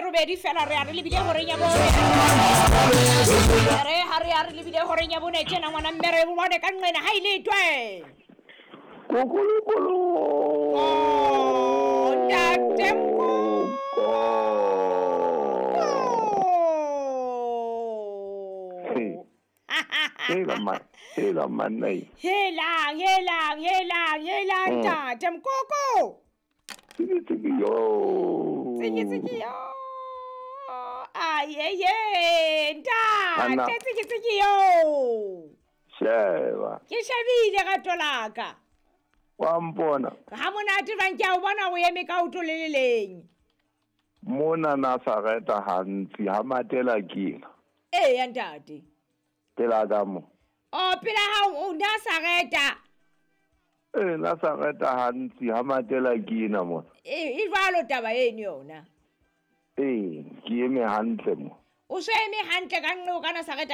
robedi fela re ya re lebile horeng ya bone. Re ha re ya re lebile horeng ya bone tjena ngwana mme re bone ka nqena ha ile twe. Kokolokolo. Oh, ntate Mko. Hela ma, hela manai. Helang, helang, helang, helang ntate Mkoko. Tsiki tsiki yo. Tsiki tsiki yo. Ayeye, Anna. ntate tsiki tsiki yo. Sheba. Ke shebile rato la ka. Wa mpona. Ha monate jwang ke a o bona o eme ka oto le le leng. Mona Nazareta hantsi ha matela ke ena. Eya ntate. Pela ka mo. O pela hao o Nazareta. Eh Nazareta hantsi ha matela ke ena mona. E jwalo taba eno yona. Eh ke eme hantle mo. O so eme hantle ka nqe o ka Nazareta.